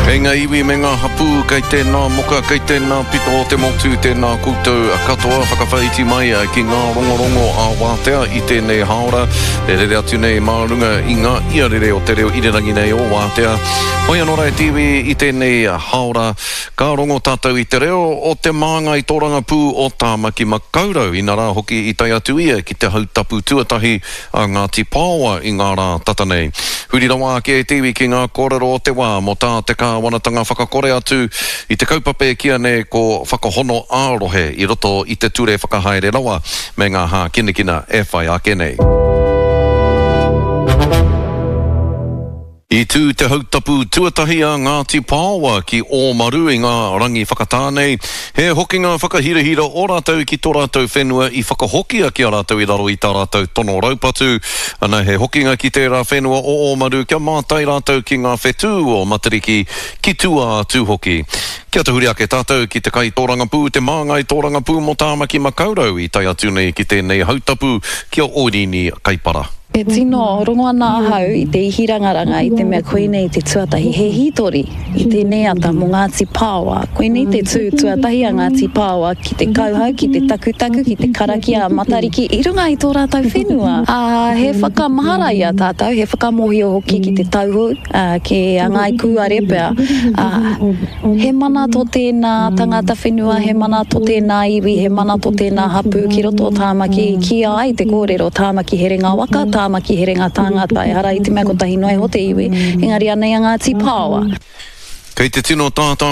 Kei ngā iwi me ngā hapū, kei tēnā moka, kei tēnā pito o te motu, tēnā koutou katoa, whakawhāiti mai ki ngā rongorongo ā-wātea i tēnei hāora e rere atu nei mā runga i ngā iarere o te reo irirangi nei o Wātea. Hoi anō rā e te iwi i tēnei hāora, ka rongo tātou i te reo o te māngai tōrangapū o Tāmaki Makaurau, inarā hoki i tae atu ia ki te hautapu tuatahi a Ngāti Paoa i ngā rā tata nei. Huri rawa ake e te iwi ki ngā kōrero o te wā mō tā te kāwanatanga whakakore atu i te kaupapa e kīa nei ko Whakahono ā-Rohe i roto i te Ture Whakahaere Rawa me ngā hākinakina e whai ake nei. I tū te hautapu tuatahi a Ngāti Paoa ki Ōmaru i ngā rangi whakatā nei. He hokinga whakahirahira o rātou ki tō rātou whenua i whakahokia ki a rātou i raro i tā rātou tono raupatu. Ana he hokinga ki tērā whenua o Ōmaru kia mātai rātou ki ngā whetū o Matariki ki tua atu hoki. Kia tahuri ake tātou ki te kaitōrangapū, te māngai tōrangapū mō Tāmaki Makaurau i tae atu nei ki tēnei hautapu ki a Oirini Kaipara. E tino rongo ana ahau i te ihi rangaranga i te mea koinei te tuatahi, he hītori i tēnei ata mō Ngāti Paoa. Koinei te tū tuatahi a Ngāti Paoa ki te kauhau, ki te takutaku, ki te karakia a Matariki i runga i tō rātou whenua. Ā, he whakamahara i a tātou, he whakamōhio hoki ki te tauhou, ā, ki a Ngāi Kūare pea, ā, He mana tō tēnā tangata whenua, he mana tō tēnā iwi, he mana tō tēnā hapū ki roto o Tāmaki. I kīia ai te kōrero, Tāmaki herenga waka, Tāmaki herenga tāngata. Ehara i te mea kotahi noa iho te iwi, engari anei a Ngāti Paoa. Kei te tino tātā.